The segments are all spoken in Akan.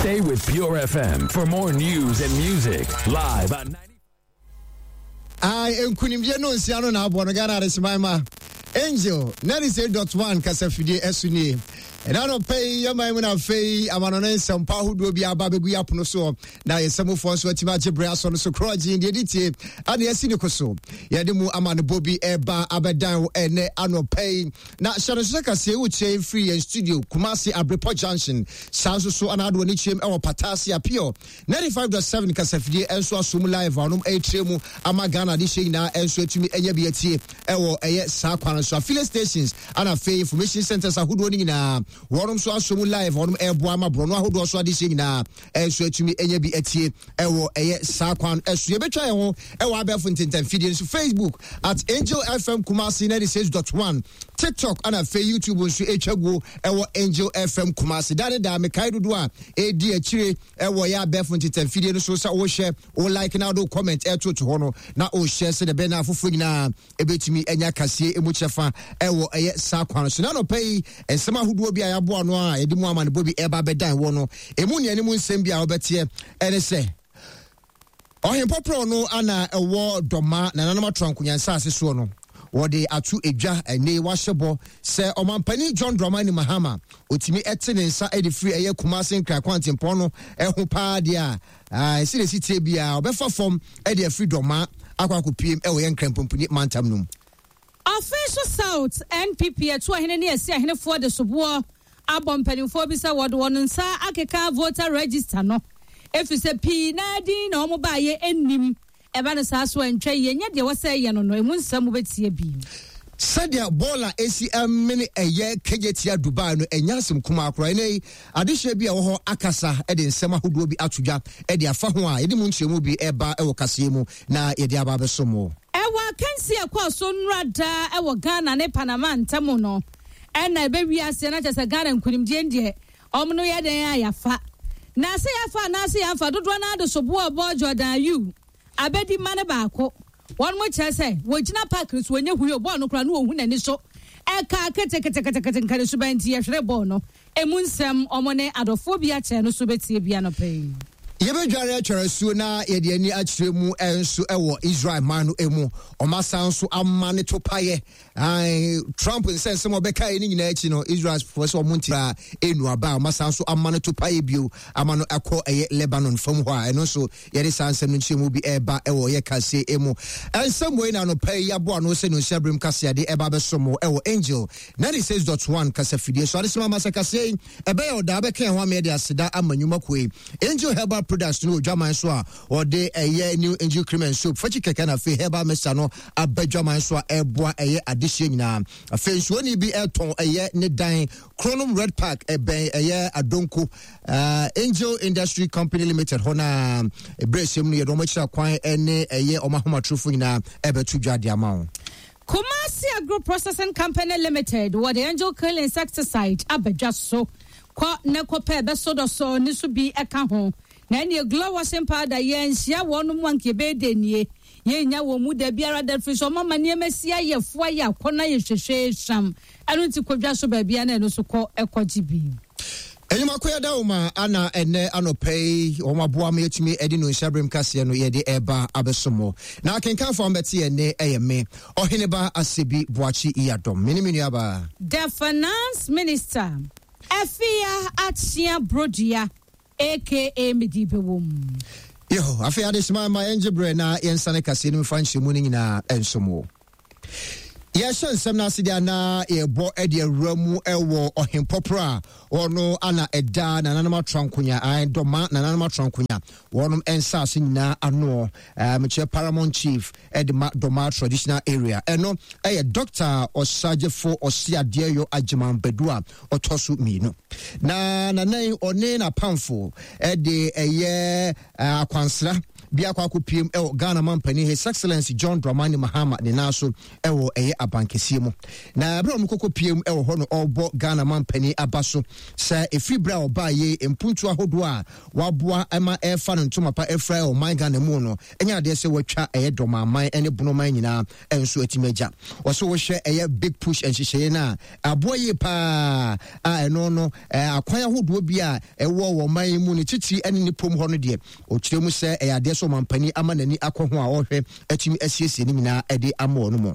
Stay with Pure FM for more news and music live on 90. Ae, nkunimdie no nsia no na aboɔ no Ghana Adeseman ma Angel 98.1 kasafidie ɛso nie. Ɛna anɔpa yi yɛman mu na afei amanɔne nsɛmpa ahodoɔ bi aba bɛgu yɛ apono soɔ na yɛsɛmufoɔ nso atumi agye berɛ asɔ no so korɔgye deɛ ɛdi tie ane asi ne ko so yɛde mu amanebɔ bi ɛba abɛdan wo ɛnɛ anɔpa yi na hyɛ no nso sɛ kaseɛ wokyerɛ firi yɛn studio Kumasi Abrepɔ Junction saa nso so ana adoɔ ne kyerɛm ɛwɔ Patase Apio 95.7 kasafidie nso aso mu live a ɔnom ɛrekyerɛ mu ama Ghana adehyeɛ nyinaa nso atumi anya bi atie ɛwɔ ɛyɛ saa kwan no so. Affiliate stations ana afei information centers ahodoɔ no nyinaa wɔnom nso aso mu live a ɔnom ɛreboa ama borɔno ahodoɔ so adehyeɛ nyinaa nso atumi anya bi atie ɛwɔ ɛyɛ saa kwan ɛso. Yɛbɛtwa yɛn ho ɛwɔ abɛɛfo ntentanfidie nso Facebook at Angel FM Kumasi 96.1 TikTok ana afei YouTube nso ɛtwa guo ɛwɔ Angel FM Kumasi. Daa ne daa mekae dodoɔ a ɛdi akyire ɛwɔ yɛ abɛɛfo ntetɛmfidie no so sɛ wohyɛ wo like na wode comment ɛtoto hɔ no na wohyɛ sɛdeɛ ɛbɛyɛ na afoforɔ nyinaa ɛbɛtumi anya kaseɛ ɛmu kyɛfa ɛwɔ ɛyɛ saa kwan no so. Na anɔpa yi nsɛm ahodoɔ bi a yɛaboa no a yɛde mu amanebɔ bi ɛba bɛdan wɔ no ɛmu nea ne mu nsɛm bi a wobɛteɛ ɛne sɛ Ɔhempɔporɔw no ana ɛwɔ Dɔma nananom atoankonya nsase soɔ no, wɔde ato edwa ɛnɛ yi wahyɛ bɔ sɛ Ɔmanpanin John Dramani Mahama ɔtumi ɛte ne nsa de firi ɛyɛ Kumase Nkran kwantempɔn no ɛho paa deɛ a ɛsi na ɛsi tie biara ɔbɛfa fam de afiri Dɔma akɔ akɔpiem ɛwɔ yɛ Nkran Pumpuni mantam no mu. Ɔfeso South NPP Atuahene ne Asiahenefoɔ de soboɔ abɔ mpanimfoɔ bi sɛ wɔde wɔn nsa akeka voter register no efisɛ pii no ara din na wɔn baayɛ nnim. Ɛba no saa so a ɛntwa yie, ɛnyɛ deɛ ɛwɔ sɛ ɛyɛ no no, emu nsɛm wobɛtie bi. Sɛdeɛ bɔɔl a ɛsi mene ɛyɛ kegye tia Dubai no ɛnyɛ asɛm kumaa koraa. Ɛnnɛ yi, adehyeɛ bi a ɛwɔ hɔ akasa de nsɛm ahodoɔ bi ato dwa de afa ho a yɛde mu nkyerɛmu bi reba wɔ kaseɛ mu na yɛde aba abɛsom wo. Ɛwɔ akansie a ɛkɔɔ so nnora daa wɔ Ghana ne Panama ntam no, ɛna ɛbɛwie aseɛ na kyerɛ sɛ Ghana nkunimdie no deɛ wɔn no yɛ dɛn a yɛafa. Na sɛ yɛafa anaasɛ yɛamfa, dodoɔ no ara de soboɔ rebɔ Jordan Ayew abɛdi mma no baako. Wɔn kyerɛ sɛ wɔgyina park no so wɔnyɛ hui o, bɔɔl no koraa no wɔhu n'ani so ɛka keteketekete nka ne suban nti yɛhwere bɔɔl no. Emu nsɛm wɔn ne adɔfoɔ bi akyɛ no so bɛtie bi anɔpa yi. Yɛbɛdware atware asuo na yɛde ani akyerɛ mu nso wɔ Israel man no mu. Wɔasan nso ama ne topaeɛ. Trump nsɛnsɛm a ɔbɛkaeɛ no nyinaa akyi no, Israelfoɔ sɛ wɔn nti koraa ɛnu aba a wɔasan nso ama no topaeɛ bio ama no akɔ ɛyɛ Lebanon fam hɔ a ɛno nso yɛde saa nsɛm no nkyerɛmu bi ɛreba ɛwɔ yɛ kaseɛ mu. Nsɛm wei na anɔpa yi yɛaboa ano sɛ nonsia berem kaseade ɛba abɛso mo ɛwɔ Angel 96.1 kasafidie so. Adesima ama sɛ kaseɛ yi ɛbɛyɛ ɔdaa bɛka ɛho ama yɛde aseda ama nnwuma kuo yi. Angel Herbal Products no wɔ dwaman so a wɔde ɛyɛ New Angel Cream and Soap fakyi kɛkɛ na afei Herbal Mixture no aba dwaman so a ɛboa ɛyɛ adehyeɛ nyinaa. Afei nsuoni bi ɛtɔn ɛyɛ ne dan Kronom Red Park ɛbɛn ɛyɛ Adonko uh, Angel Industry Company Limited hɔ na ɛberɛ ɛhyɛm no yɛde wɔn akyira kwan ɛne ɛyɛ wɔn ahomatorofo nyinaa ɛbɛto dwa de ama wo. Kumasi Agro Processing Company Limited wɔde Angel Kill Insecticide aba dwa so. Kɔ na kɔpɛ bɛsɔ dɔsɔ ne so bi ɛka ho. Na ɛneɛ Glow Washing Powder yɛnhyia wɔn mu anka yɛbɛyɛ dɛ nie. Yɛnnya wɔn mu da biara da firi sɛ wɔn ama nneɛma si ayɛ fo ayɛ akɔnɔ ayɛ hwehwee hwam. Ɛno nti kɔ dwa so baabiara na ɛno nso kɔ kɔgye bi. Enyimako yɛda wo ma ana ɛnɛ anɔpa yi wɔn aboa ma yɛtumi ɛde no nhyɛberem kaseɛ no yɛde ɛba abɛso mo. Na akenkanfoɔ a mbɛte yɛn ne ɛyɛ me Ɔheneba Asebi Boakye Yiadom. Me ne me nuabaa. The Finance Minister, Afia Akyea Brodua aka Medi Bɛwom. Yeho, afei adesima ma yɛngye berɛ na yɛnsane kaseɛ no mfa nhyɛmu no nyinaa nsom wo. Yɛhyɛ nsɛm no ase deɛ na yɛbɔ de awura mu wɔ ɔhempɔporɔ a ɔno ana ɛda nananom atrankonya dɔma nananom atrankonya wɔnom nsaase nyinaa anoɔ mekyerɛ paramount chief de ma dɔma traditional area ɛno ɛyɛ Dr. Ɔsagyefo Ɔseadeɛyɔ Agyeman Badu a ɔtɔ so mmienu na nanan ɔne n'apamfo de ɛyɛ akwansra bi akɔ akɔpiem wɔ Ghana mampanin His Excellency John Dramani Mahama ne nan so wɔ ɛyɛ abankɛseɛ mu. Na berɛ a wɔkɔkɔpiem wɔ hɔ no ɔrebɔ Ghana mampanin aba so sɛ ɛfiri berɛ a ɔbaa yei mpuntuo ahodoɔ a waboa ma ɛrefa no ntoma pa afira wɔ ɔman Ghana mu no ɛnyɛ adeɛ sɛ watwa ɛyɛ dɔmaman ne bonoman nyinaa nso atumi agya. Ɔsɛ wohwɛ ɛyɛ big push nhyehyɛeɛ no a aboa yie paa a ɛno no akwan ahodoɔ bi a ɛwɔ wɔ ɔman yi mu ne titiri ne ne pom hɔ no deɛ ɔkyerɛ mu sɛ ɛyɛ adeɛ sɛ ɔmampanin ama n'ani akɔ ho a ɔhwɛ atumi asiesie ne nyinaa de ama wɔn mu.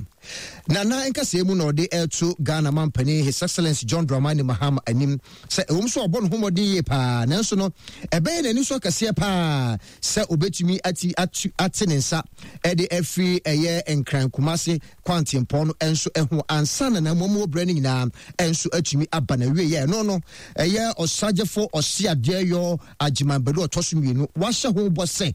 Na na nkasɛɛ mu na ɔde ɛreto Ghana mampanin His Excellency John Dramani Mahama anim sɛ ɛwom sɛ ɔbɔ ne ho mmɔden yie paa nanso no ɛbɛyɛ n'ani so akɛseɛ paa sɛ obetumi ati atu ate ne nsa de afiri ɛyɛ Nkran Kumase kwantempɔn no nso ho ansa na n'amammuo berɛ no nyinaa nso atumi aba n'awieɛ. Ɛno no ɛyɛ Ɔsagyefo Ɔseadeɛyɔ Agyeman Badu ɔtɔ so mmienu wahyɛ ho bɔ sɛ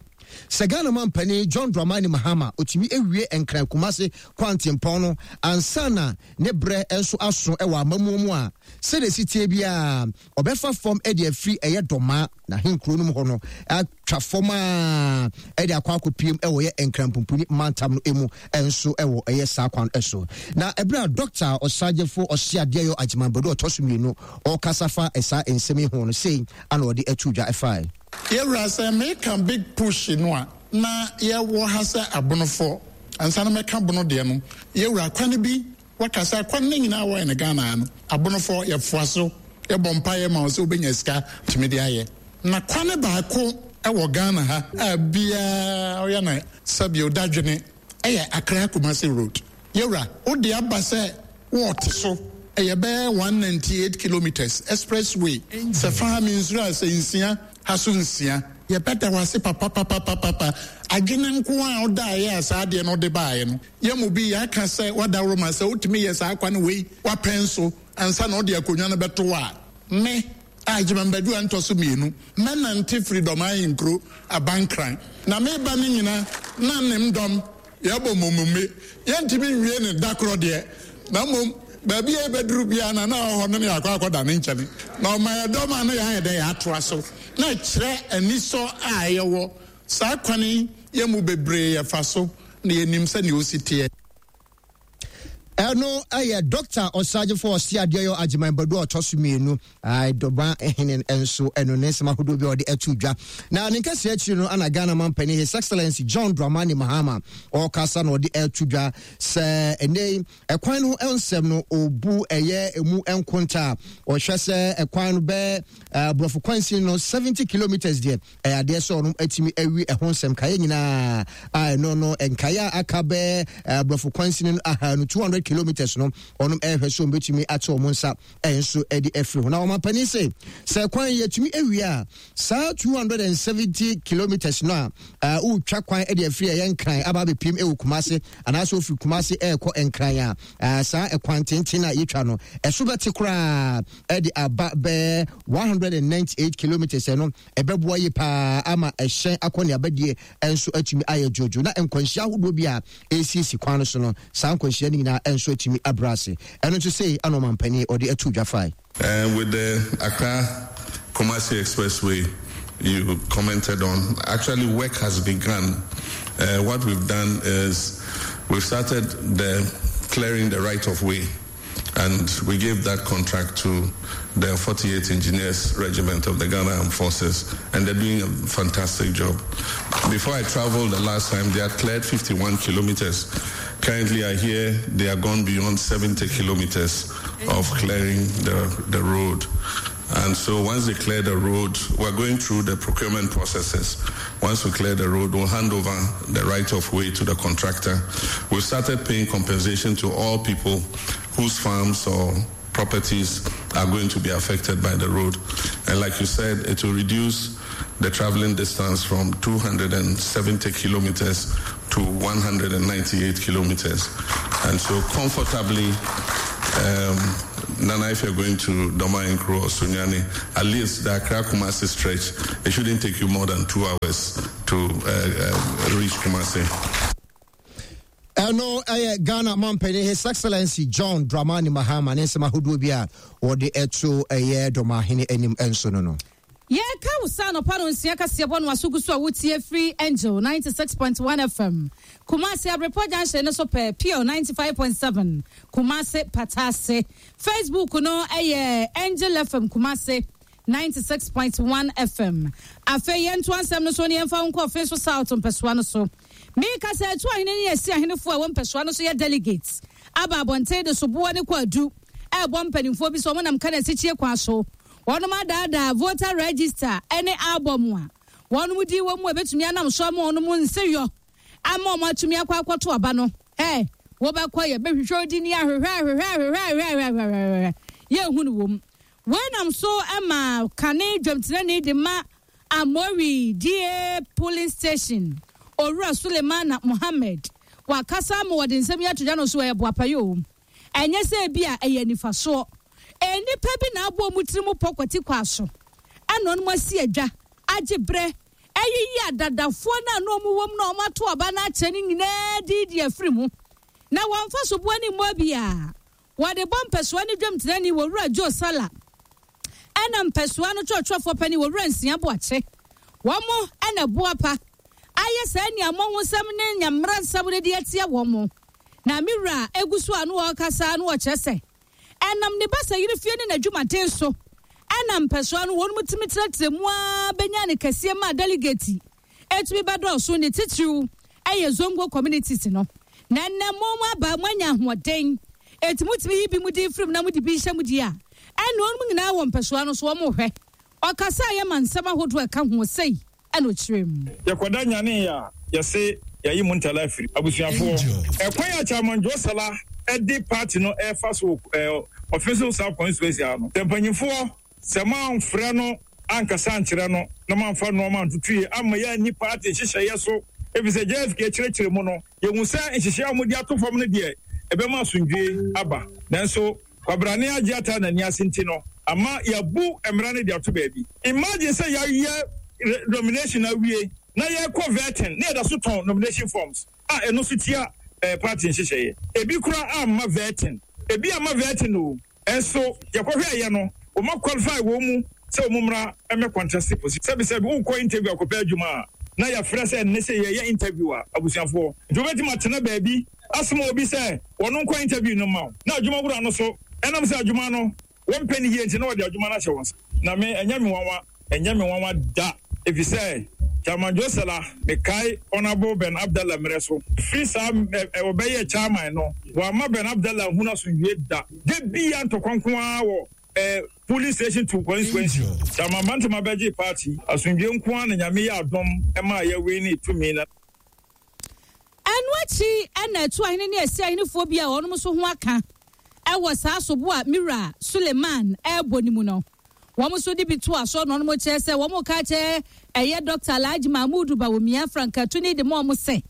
sɛ Ghana mampanin John Dramani Mahama otumi awie Nkran Kumase kwantempɔn no ansa na ne berɛ nso aso wɔ amammuo mu a, sɛdeɛ ɛsi teɛ biara ɔbɛfa fam de afiri ɛyɛ Dɔmaa n'ahenkuro no mu hɔ no atwa fam a ɛde akɔ akɔpiem wɔ yɛ Nkranpumpuni mantam no mu nso wɔ ɛyɛ saa kwan so. Na ɛberɛ a Dɔkta Ɔsagyefo Ɔseadeɛyɔ Agyeman Badu ɔtɔ so mmienu ɔrekasa fa saa nsɛm yi ho no, sei ana ɔde ato dwa ɛfae. Yɛwura sɛ meka big push no a na yɛwɔ ha sɛ abonofoɔ ansa na mɛka bono deɛ no yɛwura kwane bi Waka sɛ akwan no nyinaa wɔyɛ no Ghana ha no abonofɔ yɛfoa so yɛbɔ mpaeɛ ma wo sɛ wobɛnya sika tumi de ayɛ. Na kwane baako wɔ Ghana ha a biaa ɔyɛ no sɛbio dadwene ɛyɛ Accra Kumasi road. Yɛwura wode aba sɛ wɔɔte so ɛyɛ bɛyɛ 198 kilometres express way sɛ fa ha mensuro a sɛ nsia ha so nsia. Yɛbɛda wo ase papapapapapa adwene nko a wodaeɛ a saa adeɛ no wode baeɛ no. Yɛn mu bi yɛaka sɛ w'adaworoma sɛ wotumi yɛ saa kwan wei w'apɛn so ansa na wode akonnwa no bɛto hɔ a, me, a Agyemang Badu a ntɔ so mmienu, mɛnante firi Dɔm Ahenkuro Abankran na meba no nyina na nem dɔm yɛbɔ mmommumme. Yɛntumi nwie no da korɔ deɛ, na mmom baabi a yɛbɛduru biara na na ɔwɔ hɔ no na yɛakɔ akɔda ne nkyɛne na ɔma yɛ dɔm a na yɛayɛ dɛn yɛatoa so na ɛkyerɛ anisɔ a yɛwɔ Saa kwan yi yɛn mu bebree yɛfa so na yɛnim sɛnea osi teɛ. Ɛno yɛ Dɔkta Ɔsagyefo Ɔseadeɛyɔ Agyeman Badu a ɔtɔ so mmienu, Dɔba Hene nso ɛno ne nsɛm ahodoɔ bi a ɔde ato dwa. Na ne nkɛseɛ akyiri no ana Ghana mampanin His Excellency John Dramani Mahama ɔrekasa na ɔde ato dwa sɛ ɛnɛ yi ɛkwan no ho nsɛm no ɔbu ɛyɛ emu nkonta a ɔhwɛ sɛ ɛkwan no bɛɛ aborɔfo kwansin no 70 kilometers deɛ Ɛyɛ adeɛ sɛ ɔnom atumi awi ɛho nsɛm nkaeɛ nyinaa a ɛno no nkaeɛ a aka bɛɛ aborɔfo kwansini no aha no 200 kilometers no ɔnom ɛrehwɛ sɛ ɔmbɛtumi ate wɔn nsa nso de afiri ho. Na ɔmampanin se sɛ kwan yɛtumi awie a saa 270 kilometers no a wotwa kwan de afiri ɛyɛ Nkran aba abɛpiem ɛwɔ Kumase anaasɛ ofiri Kumase ɛrekɔ Nkran a saa ɛkwan tenten a yɛtwa no ɛso bɛte koraa de aba bɛɛ 198 kilometers ɛno Ɛbɛboa yie paa ama ɛhyɛn akɔneabadie nso atumi ayɛ dwoodwoo na nkwanhyia ahodoɔ bi a ɛresiesie kwan no so no, saa nkwanhyia no nyinaa nso atumi abrɛ ase. Ɛno nso sei ana ɔmampanin ɔde ato dwa fae. And with the Accra Kumasi Expressway you commented on, actually work has begun. Uh, what we've done is we've started the clearing the right of way and we gave that contract to the 48 Engineers Regiment of the Ghana Armed Forces, and they're doing a fantastic job. Before I traveled the last time, they had cleared 51 kilometers. Currently, I hear they are gone beyond 70 kilometers of clearing the, the road. And so once they clear the road, we're going through the procurement processes. Once we clear the road, we'll hand over the right of way to the contractor. We've started paying compensation to all people whose farms or properties are going to be affected by the road. And like you said, it will reduce the traveling distance from 270 kilometers to 198 kilometers. And so comfortably, um, Nana, if you're going to Doma Nkro or Sunyani, at least the Accra Kumasi stretch, it shouldn't take you more than two hours to uh, uh, reach Kumasi. Ɛno ɛyɛ Ghana mampanin His Excellency John Dramani Mahama ne nsɛm ahodoɔ bi a wɔde ɛto ɛyɛ dɔmahene anim nso no no. Yɛreka wo sɛ anɔpa no nsia kaseɛbɔ no aso gu so a wotie firi Angel 96.1 FM, Kumasi Abrepɔ Junction no so pɛɛ, Pure 95.7, Kumasi Patase. Facebook no yɛ Angel FM Kumasi 96.1 FM. Afei yɛntoa nsɛm no so na yɛmfa wo nkɔ Offinso South mpɛsoa no so. Meka sɛ Atu ahene ne Asi ahenefoɔ a ɛwɔ mpɛsoa no so yɛ delegates aba abɔnten de soboɔ ne kwaadu ɛrebɔ mpanimfoɔ bi sɛ wɔnam Kanasikyie kwan so Wɔnom adaadaa voter register ne album a wɔnom din wɔ mu a ɛbɛtumi anam so ama wɔnom nseyɔ ama wɔn atumi akɔ akɔto aba no. Ɛ, wobɛkɔ yɛ bɛhwehwɛ odin ni ahwehwɛ ahwehwɛ ahwehwɛ ahwehwɛ ahwehwɛ ahwehwɛ yɛnhu no wɔ mu. Wei nam so ma kane dwamtenani de ma Amori DA polling station, Owura Sulemana Mohammed, wakasa ama wɔde nsɛm yi ato dwa no so ɛyɛ boapayɔ o. Ɛnyɛ sɛ ebia ɛyɛ anifasoɔ. Nnipa bi na abɔ wɔn tirim pɔ kwati kwan so ɛna wɔn asi adwa, agye berɛ, ayiyi adadafoɔ no a na wɔn wɔ mu na wɔn ato aba no akyɛ no nyinaa din de afiri mu. Na wɔmfa soboɔ ne mmɔ biara. Wɔde bɔ mpɛsoa ne dwamtenani Owura Joe Sala ɛna mpɛsoa no kyerɛkyerɛfoɔ panin Owura Nsia Boakye. Wɔn ɛna boapa ayɛ saa aniammɔhosɛm ne nyamera nsɛm no de atia wɔn. Na me wura gu so a na ɔrekasa na ɔkyerɛ sɛ ɛnam ne basayere fie ne n'adwumaden so na mpɛsoa no wɔn tumi trɛtrɛ mu ara bɛnya ne kɛseɛ maa delegate ɛtumi bɛdɔɔso ne titiriw ɛyɛ Zongo communities no. Na ɛnnɛ mo aba moanya ahoɔden ɛti motumi yi bi mu din firim na mode bi hyɛ mu di a ɛne wɔn nyinaa wɔ mpɛsoa no so wɔn hwɛ. Ɔkasa a yɛma nsɛm ahodoɔ ɛka ho sei ɛna ɔkyerɛ mu. Yɛkɔda nyanee a yɛse yɛayi Muntala afiri. Abusuafoɔ, ɛkwan a Chairman Joe Salah de party no refa so wɔ Offinso South Constituency ha no, sɛ mpanyinfoɔ sɛ moamfrɛ no ankasa ankyerɛ no na moamfa nnoɔma antoto yie amma yɛanni party nhyehyɛeɛ so, efisɛ JFK kyerɛkyerɛ mu no, yɛhu sɛ nhyehyɛeɛ a wɔde ato fam no deɛ ɛbɛma asomdwoeɛ aba, nanso Kwabrane agye ataa n'ani ase nti no ama yɛabu mmara no de ato baabi. Imagine sɛ yɛayɛ nomination awie na yɛrekɔ vetting na yɛda so tɔn nomination forms a ɛno nso tia party nhyehyɛeɛ. Ebi koraa amma vetting. Ebi amma vetting o, nso yɛkɔhwɛeɛ no wɔn a qualify wɔn mu sɛ wɔn mmra mmɛ contest position. Sɛbisɛbi wokɔ interview akɔpɛ adwuma a na yɛafrɛ sɛ nnɛ sɛ yɛreyɛ interview a abusuafoɔ nti wobɛtumi atena baabi asoma obi sɛ wɔno nkɔ interview no mma wo, na adwuma wura no so, ɛnam sɛ adwuma no wɔmpɛ no yie nti na wɔde adwuma no ahyɛ wo nsa. Na me, ɛnyɛ me nwanwa, ɛnyɛ me nwanwa da, efisɛ Chairman Joe Sala, mekae Honourable Ben Abdallah mmerɛ so, firi saa ɛ, ɛ, ɔbɛyɛɛ Chairman no, wamma Ben Abdallah anhunu asomdwoeɛ da. Da biara ntɔkwa nko ara wɔ ɛ, polling station to constituency. Chairman Bantama bɛgyee party, asomdwoeɛ nko ara na Nyame yɛɛ adom maa yɛwinii tumi na. Ɛno akyi na Atu ahene ne Asi ahenefoɔ bi a wɔn nso ho aka wɔ saa sobo a me wura Suleiman rebɔ no mu no, wɔn nso de bi toa so na wɔn kyerɛ sɛ wɔn reka akyerɛ ɛyɛ Dɔkta Alhaji Mahmood Bawumia frankatuni de ma wɔn sɛ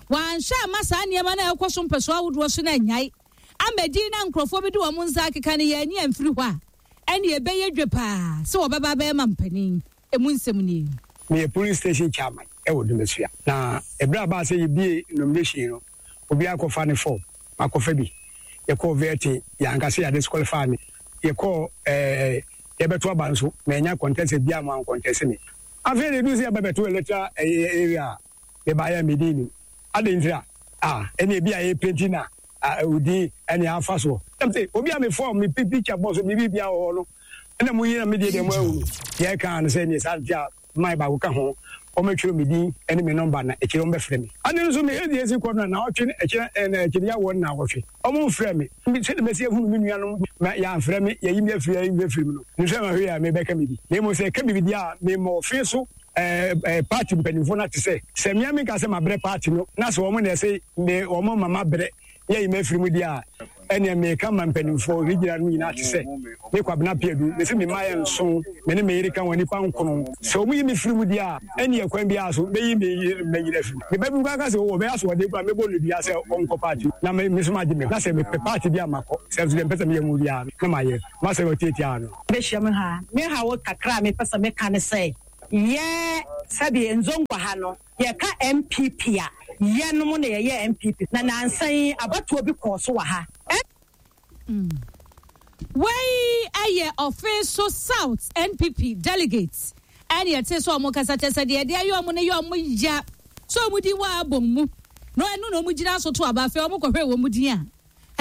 wɔanhwɛ amma saa nneɛma no a ɛrekɔ so mpɛsoa ahodoɔ so no annyae amma din na nkurɔfoɔ bi de wɔn nsa akeka no yɛanyi amfiri hɔ a, ɛnneɛ ɛbɛyɛ dwe paa sɛ wɔbɛba abɛyɛ mampanin. Emu nsɛm nie. Meyɛ polling station chairman wɔ Dumasua. Na ɛberɛ a ɛbaa sɛ yɛbue nomination no, obiara kɔfa ne form. Makɔfa bi. Yɛkɔɔ vetting, yɛanka sɛ yɛadisqualify me. Yɛkɔɔ ɛɛ yɛbɛto aba nso, mannya contestant biara amma wɔancontest me. Afei na ɛduru sɛ yɛba bɛto electoral ɛyɛ area a, mebaeɛ a me din nnim. Adɛn ntira? Ah, ɛnna ebi a yɛpenti na ah, wo din ɛne afa soɔ. Ɛm sɛ obi a me form, me picture bɔ so, me biribiara wɔ hɔ no, Ɛna mo yi na me deɛ deɛ mo ahu no. Deɛ ɛka no sɛ neɛ saa nti a mae baako ka ho, wɔmɛtwerɛ me din ne me nɔmba na akyire wɔbɛfrɛ me. Ade nso me ɛdeɛ ɛsi kɔ no naawɔtwe ne akyire ɛna akyire yɛawoɔ no naawɔtwe wɔn mfrɛ me. Sɛdeɛ mɛsi ahunu me nuanom ma yɛamfrɛ me yɛyi me afiri yɛyi me afiri mu no nim sɛ mahwɛ yie a mebɛka me bi na mmom sɛ ɛka biribi deɛ a mema ɔfe so ɛɛ party mpanimfoɔ no ate sɛ sɛ mmea menka sɛ mabrɛ party no na sɛ wɔn na ɛsɛ me wɔn ma mabrɛ yɛyi me afiri mu deɛ a, ɛneɛ meka ma mpanimfoɔ regional no nyinaa te sɛ me Kwabena Piadu, mese me mma yɛ nson, me ne me yere ka ho nnipa nkono. Sɛ wɔn yi me firi mu deɛ a, ɛneɛ kwan biara so mɛyi me yere ne mma nyinaa afiri mu. Me ba bi koraa ka sɛ oh ɔbɛyɛ asoɔden koraa mɛbɔ no dua sɛ ɔnkɔ party na me nso magye me ho, na sɛ mepɛ party bi a makɔ, sɛ nso deɛ mepɛ sɛ meyɛ mu biara no na mayɛ. M'asɛm a ɔtiatia no. Bɛhyia mu ha. Me haw kakra a mepɛ sɛ meka ne sɛ, yɛ sɛdeɛ Nzongwa ha no, Yɛka NPP a, yɛnom na yɛyɛ NPP. Na nansa yi abatoɔ bi kɔɔ so wɔ ha. Wei yɛ Offinso South NPP delegate. Ɛne yɛtee sɛ wɔn kasa kyɛ sɛ deɛ yɛde ayɛ wɔn no yɛ wɔn ya sɛ wɔn din wɔ album mu na ɛno na wɔn gyina so to aba. Afei wɔn kɔhwɛɛ wɔn din a,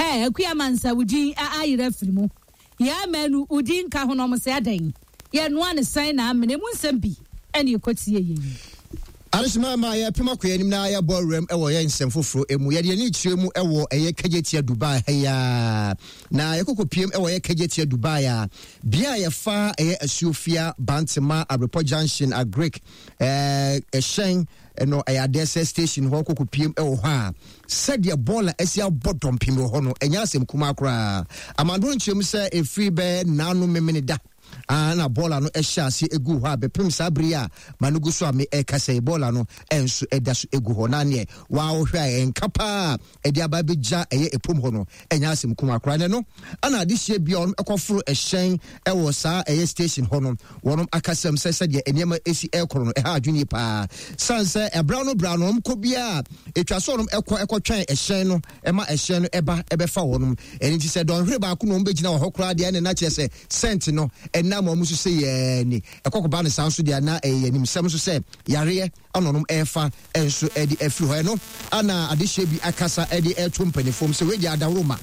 ɛɛ Akua Amansa wo din ayera afiri mu. Yaa Manu wo din nka ho na wɔn sɛ adɛn? Yɛnoa no sɛn na amena? Emu nsɛm bi ɛne yɛkɔtie yei. Adesoma ma yɛpem akɔ yɛn anim na yɛbɔ awuram wɔ yɛn nsɛm foforɔ mu. Yɛde yɛn ani kyerɛ mu wɔ ɛyɛ Kejetia Dubai ha yi ara. Na yɛkɔkɔ piem wɔ ɛyɛ Kejetia Dubai a, bea a yɛfa ɛyɛ Asuofia, Bantema, Abrepɔ Junction, Agric, ɛɛ ɛhyɛn no ɛyɛ adeɛ sɛ station hɔ kɔkɔ piem wɔ hɔ a, sɛdeɛ bɔɔla asi abɔ dɔmpem wɔ hɔ no, ɛnyɛ asɛm kumaa koraa. Amandoro nkyerɛ mu sɛ ɛfiri bɛyɛ naano memene da Ah, na bɔɔla no hyɛ ase egu hɔ a bɛpem saa bere yi a ma no gu so a me ɛkasa yi bɔɔla no nso ɛda so egu hɔ na neɛ waa wohwɛ a ɛnka paa ɛde aba abɛgya ɛyɛ ɛpom hɔ no ɛnyɛ asɛm kuma koraa na ɛno ana adehyeɛ bia wɔn ɛkɔforo ɛhyɛn ɛwɔ saa ɛyɛ station hɔ no wɔn akasɛm sɛ sɛdeɛ nneɛma ɛsi ɛkɔrɔ no ɛha adwene yie paa san sɛ ɛbra no bra no wɔn kɔ biara ɛtwa sɛ wɔn ɛkɔ ɛkɔtwɛn ɛhyɛn no ɛma ɛhyɛn no ɛba ɛbɛfa wɔn ɛno nti sɛ dɔnhwere baako na wɔn bɛgyina wɔ hɔ koraa deɛ ɛne na kyerɛ sɛ Sɛnt no ɛnam wɔn so sɛ yɛɛ ni. Ɛkɔ kɔba no saa nso deɛ na ɛyɛ animsɛm nso sɛ yareɛ ana ɔnom ɛrefa nso ɛde afiri hɔ. Ɛno ana adehyeɛ bi akasa ɛde ɛreto mpaninfoɔ mu sɛ wei deɛ adaworo ma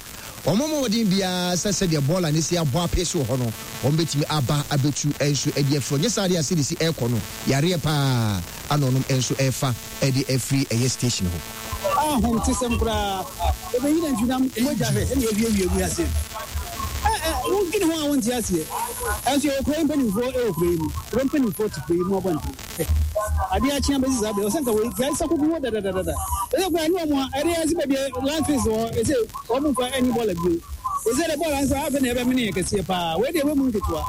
wɔn mmɔ mmɔden biara sɛ sɛdeɛ bɔɔla no si abɔ apee so wɔ hɔ no wɔn bɛtumi aba abɛtu nso ɛde afiri hɔ. Nyɛ saa deɛ a sɛdeɛ si ɛrekɔ no yareɛ paa ana ɔnom nso ɛrefa ɛde afiri ɛyɛ station hɔ. Ahomtesɛm koraa. Ebeyi nantwinam mogya hwɛ sɛnea ewiawie wiase. Ɛ ɛ wodwene ho a wonte aseɛ. Ɛnso yɛwɔ kuro yi mpanimfoɔ wɔ kuro yi mu. Kuro mpanimfoɔ te kuro yi mu abɔnten. Hwɛ, adeɛ akye abɛsi saa berɛ. Ɔsɛ nka wei gyae sɛ koko hɔ dadadadada. Ɛsɛ koraa ne wɔn a ɛde ɛsɛ baabi a landfills wɔ hɔ ɛsɛ wɔn mfa ɛnyi bɔɔla bio. Ɛsɛ dɛ bɔɔla nso afei na ɛbɛmene yɛ kɛseɛ paa. Wei deɛ ɛwɔ mu nketewa.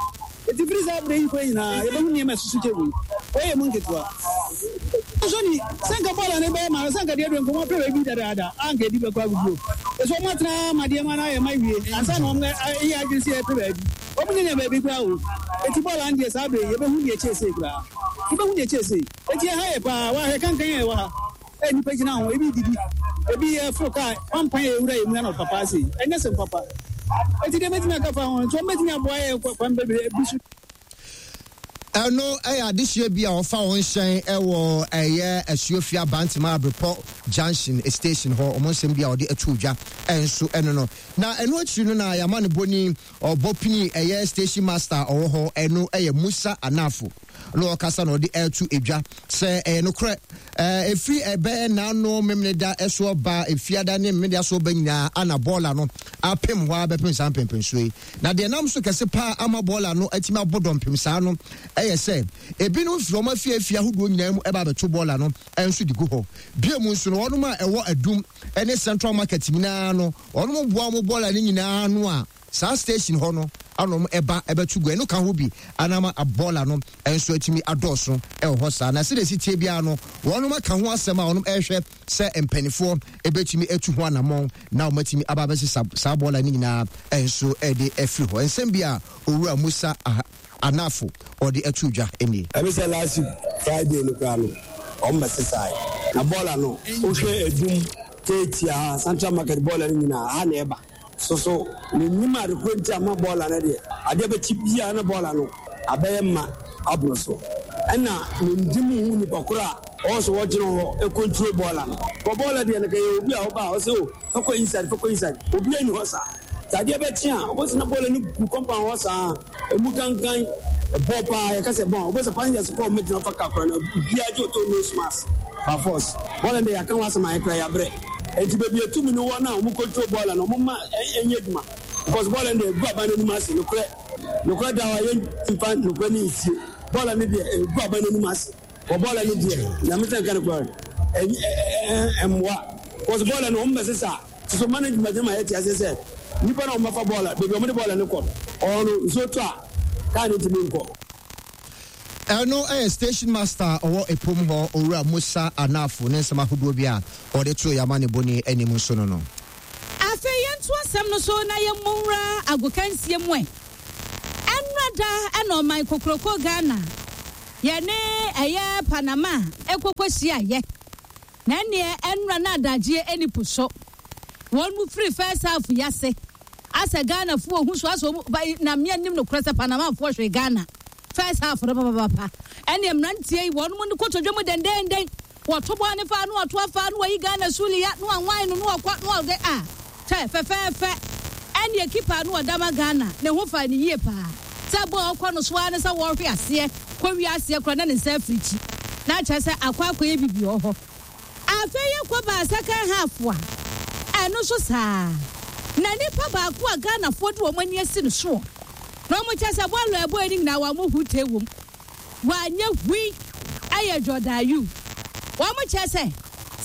Enti firi saa berɛ yi kɔ nyinaa, yɛbɛhu nneɛma a ɛsoso kyɛ wei. Wei yɛ mu nketewa. Nso ni, sɛ anka bɔɔla no bɛyɛ ma no, sɛ anka deɛ aduru nka wɔapɛ baabi dadaada a anka ɛdi bɛkɔ aguguo. Ɛsɛ wɔn atena ara ma deɛ ma no ayɛ ma awie ansa na wɔn ayɛ adwene sɛ yɛpɛ baabi. Wɔn nyanya baabi koraa o. Enti bɔɔla no deɛ saa berɛ yi, yɛbɛhu deɛ ɛkyɛɛ sei koraa. Yɛbɛhu deɛ ɛkyɛɛ sei. Enti ɛha yɛ paa. Woahwɛ kankan a ɛwɔ ha. Ɛ nnipa gyina ho, ebi redidi, ebi reforo kaa, pampan a ewura yɛn mu anɔpa paa sei, ɛnyɛ sɛm papa. Enti deɛ mɛtumi aka fa ho no, nti wɔbɛtumi aboa yɛn kwan bebree bi so. Ɛno yɛ adehyeɛ bi a wɔfa wɔn hyɛn wɔ ɛyɛ Asuofia Bantama Abrepɔ Junction station hɔ. Wɔn nsɛm bi a wɔde ato dwa nso ɛno no. Na ɛno akyiri no na yɛama no bɔni ɔbɔ pini ɛyɛ station master a ɔwɔ hɔ ɛno ɛyɛ Musa Anafo. Na ɔkasa na ɔde ɛreto dwa sɛ ɛyɛ nokorɛ ɛfiri ɛbɛyɛ n'ano Memeneda ɛso ɔba Efiada ne Memeneda so ɔba nyinaa ana bɔɔla no apem hɔ ara bɛpem saa mpɛmpɛnsoɔ yi. Na deɛ ɛnam so kɛse paa ama bɔɔla no atumi abɔ dɔmpem saa no ɛyɛ sɛ ebinom firi wɔn afie afie ahodoɔ nyinaa mu ɛba abɛto bɔɔla no nso de gu hɔ. Bio mu nso no wɔnom a ɛwɔ Adum ne Central Market nyinaa no wɔnom boa wɔn bɔɔla no nyinaa ano a Saa station hɔ no ana wɔn ɛba ɛbɛto gu ɛno ka ho bi ana ama bɔɔla no nso atumi adɔɔso ɛwɔ hɔ saa na sɛdeɛ ɛsi tie biara no wɔnom aka ho asɛm a wɔnom ɛrehwɛ sɛ mpanifoɔ ɛbɛtumi atu ho anamɔn na wɔn atumi aba abɛsesa saa bɔɔla no nyinaa nso ɛde afiri hɔ nsɛm bi a owura Musa Anafo ɔde ato dwa nie. Ɛne sɛ last week Friday no koraa no wɔn bɛsesae na bɔɔla no wohwɛ Adum, Keetia ha, Central Market bɔɔla no nyinaa ha na ɛba. So so mennim ade korɔ nti a ma bɔɔla no deɛ adeɛ bɛkye biara na bɔɔla no abɛyɛ ma aboro so. Ɛna mendi mu hu nipa korɔ a ɔwɔ sɛ ɔgyina hɔ control bɔɔla no. Kɔ bɔɔla deɛ no kɛyɛ obi a ɔba a ɔsɛ o fa kɔ inside fa kɔ inside obiara nni hɔ saa. Sɛ adeɛ bɛkye a wobɛhu sɛ na bɔɔla no gu compound hɔ saa ɛmu kankan ɛbɔ paa yɛka sɛ bɔn wobɛhu sɛ passengers kɔ ɔmo gyina fa car koraa no obiara gye ɔtɔ nose mask by force. Bɔɔla no deɛ yɛaka ho asɛm a yɛkora yɛabrɛ. Enti baabi a tumi no wɔ no a wɔn control bɔɔla no wɔn ma ɛnyɛ adwuma because bɔɔla no deɛ egu aban no anim ase nokorɛ nokorɛ da hɔ a yɛn nfa nokorɛ no nsie bɔɔla no deɛ egu aban no anim ase wɔ bɔɔla no deɛ nyame sɛ nka nokorɛ ɛmmoa because bɔɔla no wɔn bɛsesa soso management no ma yɛte aseɛ sɛ nipa na wɔn bɛfa bɔɔla baabi a wɔn de bɔɔla no kɔ ɔno nsuo tɔ a kaa no ntumi nkɔ. Ɛno yɛ Station Master a ɔwɔ Epom hɔ, Owura Musa Anafo ne nsɛm ahodoɔ bi a ɔde too yɛn amanebɔni anim nso no no. Afei yɛnto asɛm no so na yɛmmɔ nwura agokansie mu ɛ. Ɛnnora da na ɔman kokroko Ghana yɛne ɛyɛ Panama ɛkɔkɔ hyiaeɛ. Na ɛnneɛ ɛnnora na adagyeɛ ɛni po so. Wɔn mu firi first half yi ase asɛ Ghanafoɔ hu so asɛ wɔn ba na mmea nim nokorɛ sɛ Panamafoɔ hwee Ghana. First half no papapapa. Ɛne mmeranteɛ yi wɔn no kotodwe mu dendenden. Wɔto bɔɔl no fa na wɔto afa na wɔyi Ghana Suliya na wɔanwan no na wɔkɔ na wɔde a kyɛ fɛfɛɛfɛ. Ɛne keeper no ɔda ma Ghana ne ho fa ne yie paa. Sɛ bɔɔl kɔ no so ara ne sɛ wɔhwe aseɛ kɔ wie aseɛ koraa na ne nsa afiri akyi. Na kyerɛ sɛ akɔ akɔyɛ bibi wɔ hɔ. Afei yɛkɔ baa second half a, ɛno nso saa. Na nipa baako a Ghanafoɔ de wɔn ani asi no soɔ na wɔn kyerɛ sɛ bɔɔl a ɛbɔɔ no nyinaa wɔn hute wom. Wanyɛ hui ɛyɛ Jordan Ayew. Wɔn kyerɛ sɛ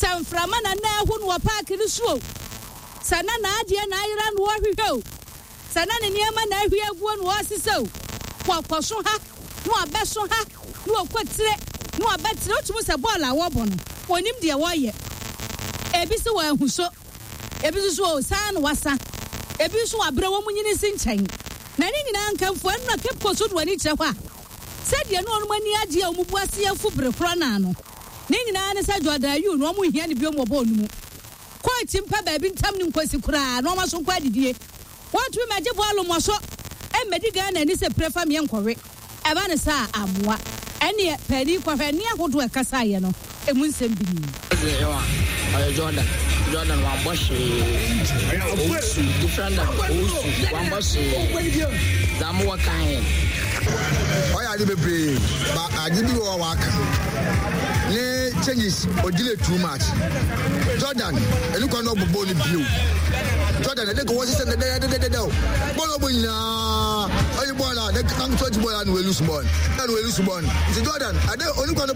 sɛ mframa na na ɛho no wɔ paaki no so o, sɛ na n'adeɛ na ayera na ɔrehwehwɛ o, sɛ na ne nneɛma na ahwie aguo na ɔresesa o, wɔkɔso ha na wɔabɛso ha na wɔkɔ tire na wɔabɛtire. Wotumi sɛ bɔɔl a wɔbɔ no, wɔnim deɛ wɔreyɛ. Ebi sɛ wɔahu so, ebi nso so o saa na wasa, ebi nso wɔabrɛ wɔn nyini si nkyɛn. Na ne nyinaa nkamfo ɛno na Cape Coast do ani kyerɛ hɔ a, sɛdeɛ na wɔn ani agye a wɔn bu ase afu bere korɔ no ano. Ne nyinaa ne sɛ Jordan Ayew no wɔn nhia no biom wɔ bɔɔl no mu. Kɔɔkyi mpa baabi ntam ne nkosi koraa na wɔn aso nkɔ adidie. Wɔntumi mmɛgye bɔɔlo mmɔ so mmɛdi Ghana ani sɛ pire fa meɛ nkɔwe. Ɛba no saa a, ammoa. Ɛnneɛ, paani kɔhwɛ nne ahodoɔ a ɛkasaeɛ no, emu nsɛm bi nie. Ɔdze ewa ɔyɛ Jordan Jordan wambɔ hwee owusu defender owusu wambɔ hwee dza mowɔ ka hɛn. Ɔyɛ ade bebree ba ade bi wɔ hɔ a waka ne changes o delay too much Jordan ɛne kwan na ɔbɔ bɔɔl no bio Jordan ɛde kɔ wɔsesɛ dɛdɛdɛdɛdɛ o bɔɔl ɔbɔ nyinaa ɔyɛ bɔɔl a ne kan tɔgye bɔɔl a na wɔlose bɔɔl na wɔlose bɔɔl nti Jordan ade ɔne kwan.